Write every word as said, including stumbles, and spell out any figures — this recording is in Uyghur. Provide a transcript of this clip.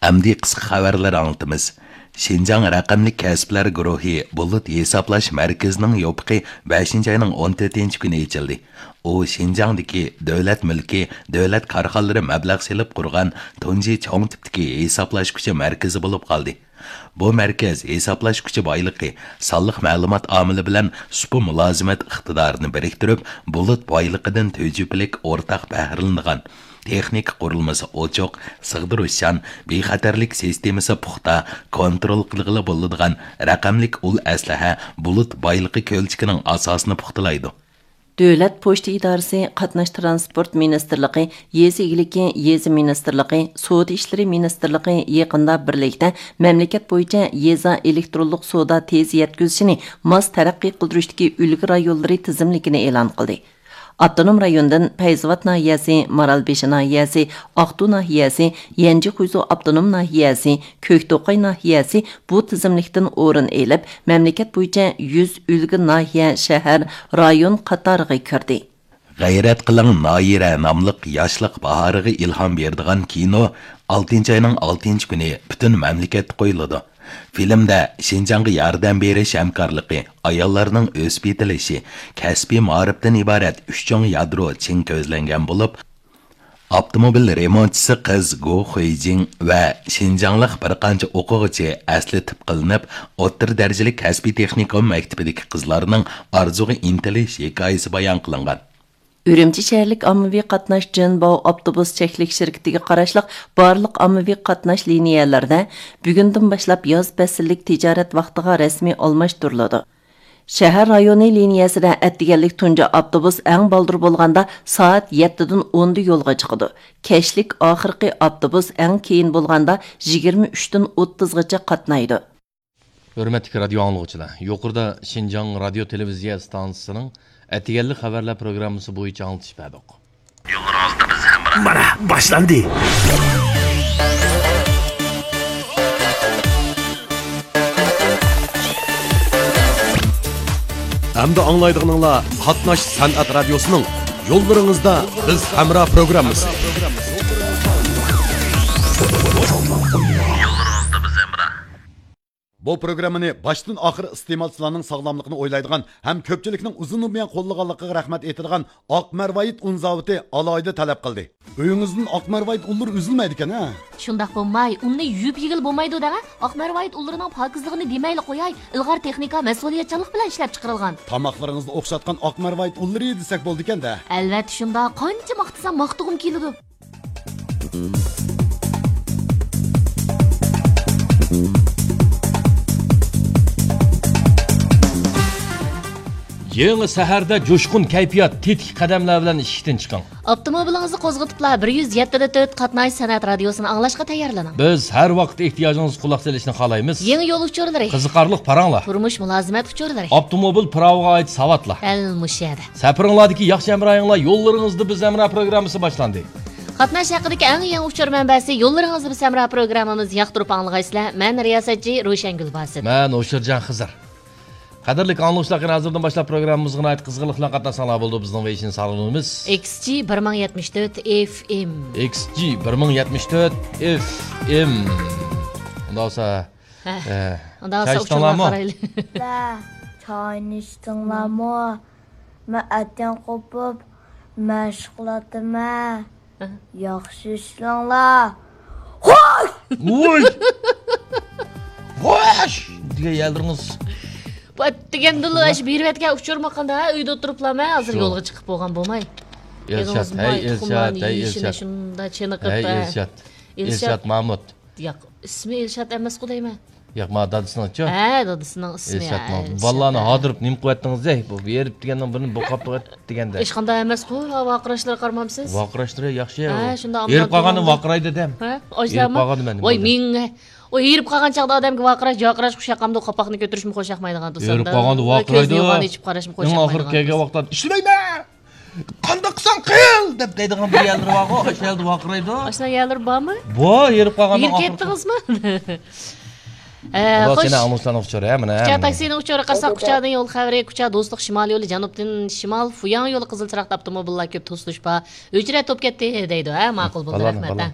ئەمدى قىسقا خەۋەرلەر ئاڭلىتىمىز. شىنجاڭ رەقەملىك كەسىپلەر گۇرۇھى بۇلۇت ھېسابلاش مەركىزىنىڭ يوپۇقى بەشىنچى ئاينىڭ ئون تۆتىنچى كۈنى ئېچىلدى. ئۇ شىنجاڭدىكى دۆلەت مۈلكى، دۆلەت كارخانىلىرى مەبلەغ سېلىپ قۇرغان تۇنجى چوڭ تىپتىكى ھېسابلاشقۇچى مەركىزى بولۇپ قالدى. بۇ مەركەز ھېسابلاشقۇچى بايلىقى، سانلىق مەلۇمات ئامىلى بىلەن سۇپا مۇلازىمەت ئىقتىدارىنى بىرىكتۈرۈپ، بۇلۇت بايلىقىدىن تۈجۈپىلىك ئورتاق بەھرىلىنىدىغان، تېخنىكا قۇرۇلمىسى ئوچۇق، سىغدۇرۇشچان، بىخەتەرلىك سىستېمىسى پۇختا، كونترول قىلغىلى بولىدىغان رەقەملىك ئۇل ئەسلىھە بۇلۇت بايلىقى كۆلچىكىنىڭ ئاساسىنى پۇختىلايدۇ. دۆلەت پوچتا ئىدارىسى قاتناش تىرانسپورت مىنىستىرلىقى، يېزا ئىگىلىكى، يېزا مىنىستىرلىقى، سودا ئىشلىرى مىنىستىرلىقى يېقىندا بىرلىكتە مەملىكەت بويىچە يېزا ئېلېكترونلۇق سودا تېز يەتكۈزۈشىنى ماس تەرەققىي قىلدۇرۇشتىكى ئۈلگە رايونلىرى تىزىملىكىنى ئېلان قىلدى. ئاپتونوم رايوندىن پەيزاۋات ناھىيەسى، مارالبېشى ناھىيەسى، ئاقتۇ ناھىيەسى، يەنجى خۇيزۇ ئاپتونوم ناھىيەسى، كۆكتوقاي ناھىيەسى بۇ تىزىملىكتىن ئورۇن ئېلىپ، مەملىكەت بويىچە يۈز ئۈلگە ناھىيە، شەھەر، رايون قاتارىغا كىردى. غەيرەت قىلىڭ نايىرە ناملىق ياشلىق باھارىغا ئىلھام بېرىدىغان كىنو ئالتىنچى ئاينىڭ ئالتىنچى كۈنى پۈتۈن مەملىكەتتە قويۇلىدۇ. فىلىمدە شىنجاڭغا ياردەم بېرىش ھەمكارلىقى، ئاياللارنىڭ ئۆسۈپ يېتىلىشى، كەسپىي مائارىپتىن ئىبارەت ئۈچ چوڭ يادرو چىڭ كۆزلەنگەن بولۇپ، ئاپتوموبىل رېمونتچىسى قىز گو خۇيجىڭ ۋە شىنجاڭلىق بىر قانچە ئوقۇغۇچى ئەسلى تىپ قىلىنىپ، ئوتتۇرا دەرىجىلىك كەسپىي تېخنىكوم مەكتىپىدىكى قىزلارنىڭ ئارزۇغا ئىنتىلىش ھېكايىسى بايان قىلىنغان. ئۈرۈمچى شەھەرلىك ئاممىۋى قاتناش جېنباۋ ئاپتوبۇس چەكلىك شىركىتىگە قاراشلىق بارلىق ئاممىۋى قاتناش لىنىيەلىرىدە بۈگۈندىن باشلاپ ياز پەسىللىك تىجارەت ۋاقتىغا رەسمىي ئالماشتۇرۇلىدۇ. شەھەر رايونى لىنىيەسىدە ئەتىگەنلىك تۇنجى ئاپتوبۇس ئەڭ بالدۇر بولغاندا سائەت يەتتىدىن ئوندا يولغا چىقىدۇ. كەچلىك ئاخىرقى ئاپتوبۇس ئەڭ كېيىن بولغاندا يىگىرمە ئۈچتىن ئوتتۇزغىچە قاتنايدۇ. ھۆرمەتلىك رادىيو ئاڭلىغۇچىلار، يۇقىرىدا شىنجاڭ رادىيو تېلېۋىزىيە ئىستانسىسىنىڭ ئەتىگەنلىك خەۋەرلەر پروگراممىسى بويىچە ئاڭلىتىش بەردۇق. يوللىرىڭىزدا بىز ھەمراھ. مانا، باشلاندى. ئەمدى ئاڭلايدىغىنىڭلار قاتناش سەنئەت رادىيوسىنىڭ يوللىرىڭىزدا بىز ھەمراھ پروگراممىسى. يوللىرىڭىزدا بىز ھەمراھ. بۇ پروگراممىنى باشتىن ئاخىر ئىستېمالچىلارنىڭ ساغلاملىقىنى ئويلايدىغان ھەم كۆپچىلىكنىڭ ئۇزۇنىدىن بۇيان قوللىغانلىقىغا رەھمەت ئېيتىدىغان ئاق مەرۋايىت ئۇن زاۋۇتى ئالاھىدە تەلەپ قىلدى. ئۆيىڭىزدىن ئاق مەرۋايىت ئۇنلىرى ئۈزۈلمەيدىكەن ھە؟ شۇنداق بولماي، ئۇننى يۇيۇپ يېگىلى بولمايدۇ دەڭە. ئاق مەرۋايىت ئۇنلىرىنىڭ پاكىزلىقىنى دېمەيلا قوياي، ئىلغار تېخنىكا، مەسئۇلىيەتچانلىق بىلەن ئىشلەپ چىقىرىلغان. تاماقلىرىڭىزنى ئوخشاتقان ئاق مەرۋايىت ئۇنلىرى دېسەك بولىدىكەن دە. ئەلۋەتتە شۇنداق، قانچە ماختىسام ماختىغۇم كېلىدۇ. يېڭى سەھەردە جۇشقۇن كەيپىيات، تېتىك قەدەملەر بىلەن ئىشىكتىن چىقىڭ. ئاپتوموبىلىڭىزنى قوزغىتىپلا، بىر يۈز يەتتە دە تۆت قاتناش سەنئەت رادىيوسىنى ئاڭلاشقا تەييارلىنىڭ. بىز ھەر ۋاقىت ئېھتىياجىڭىزغا قۇلاق سېلىشنى خالايمىز. يېڭى يول ئۇچۇرلىرى. قىزىقارلىق پاراڭلار. تۇرمۇش مۇلازىمەت ئۇچۇرلىرى. ئاپتوموبىل پىراۋىغا ئائىت ساۋاتلار. دەل مۇشۇ يەردە. سەپىرىڭلاردىكى ياخشى ھەمراھىڭلار يوللىرىڭىزدا بىز ھەمراھ پروگراممىسى باشلاندى. قاتناش ھەققىدىكى ئەڭ يېڭى ئۇچۇر مەنبەسى يوللىرىڭىزدا بىز ھەمراھ پروگراممىمىز ياقتۇرۇپ ئاڭلىغايسىلەر. مەن رىياسەتچى روشەنگۈل باسىت. مەن ھوشۇرجان خىزىر. قەدىرلىك ئاڭلىغۇچىلار، قېنى ھازىردىن باشلاپ پروگراممىمىزغا ناھايىتى قىزغىنلىق بىلەن قاتناشساڭلار بولىدۇ. بىزنىڭ ۋېيشىن سالونىمىز. ئېكس جى بىر مىڭ يەتمىش تۆت ئېف ئېم. ئېكس جى بىر مىڭ يەتمىش تۆت ئېف ئېم. ئۇنداق بولسا، ھە. ئە، ئۇنداق چاي بولسا ئىچتىڭلارمۇ؟ ئۇچۇرلارغا قارايلى. لا، چاينى ئىچتىڭلارمۇ؟ مەن ئەتىگەن قوپۇپ مەشىق قىلاتتىم. ھە. ياخشى ئىشلەڭلار. خوش! ۋوي! خوش! دېگەن يەرلىرىڭىز. بۇ ئەتىگەندىلا ئاشۇ بېرىۋەتكەن ئۇچۇرمۇ قانداق، ھە؟ ئۆيدە ئولتۇرۇپلا مەن ھازىر شۇ. يولغا چىقىپ بولغان بولماي. ئىلشات، ھەي، ئىلشات، ھەي، ئىلشات. شۇنداق چېنىقىپ، ھەي، ھە. ئىلشات. ئىلشات. ئىلشات مامۇت. ياق، ئىسمى ئىلشات ئەمەسقۇ دەيمەن. ياق، ما دادىسىنىڭچۇ؟ ھە، دادىسىنىڭ ئىسمى، ئىلشات ھە، مامۇت. ئىلشات. بالىلارنى ھادىرىپ نېمە قىلىۋەتتىڭىز دەي؟ بۇ ھېرىپ دېگەننىڭ بىرىنى بوقاپ قويۇۋەتتى دېگەندە. ھېچقانداق ئەمەسقۇ، ھا، ۋارقىراشلىرىغا قارىمامسىز؟ ۋارقىراشلىرى ياخشى. ھە، شۇنداق ھېرىپ قالغاندا ۋارقىرايدۇ دەم. ھە، ھېرىپ قالغاندا مەن ۋاي، مېڭە. ئۇ ھېرىپ قالغان چاغدا ئادەمگە ۋارقىراش، جارقىراش خۇشياقمامدۇ، قاپاقنى كۆتۈرۈشمۇ خۇشياقمايدىغان. ھېرىپ قالغاندا ۋارقىرايدۇ. كۆزنى يوغان ئېچىپ قاراشمۇ خۇشياقمايدىغان. ئەڭ ئاخىرى كەلگەن ۋاقىتتا ئىشلىمەيمەن! قانداق قىلساڭ قىل دەپ دەيدىغان بىر يەرلىرى بارغۇ، ئاشۇ يەردە ۋارقىرايدۇ. ئاشۇنداق يەرلىرى بارمۇ؟ بار، ھېرىپ قالغاندا. ھېرىپ كەتتىڭىزمۇ؟ ئە، خوش. سېنىڭ ئاڭلىغۇچىلارنىڭ ئۇچۇرى، ھە، مانا، كۇچا تاكسىنىڭ ئۇچۇرى قارىساق، كۇچادىن يول خەۋىرى، كۇچا دوستلۇق شىمال يولى، جەنۇبتىن شىمال، فۇياڭ يولى قىزىل چىراغدا ئاپتوموبىللار كۆپ توسۇلۇش بار. ئۆچرەت توپ كەتتى دەيدۇ، ھە، ماقۇل بولدى، رەھمەت، ھە.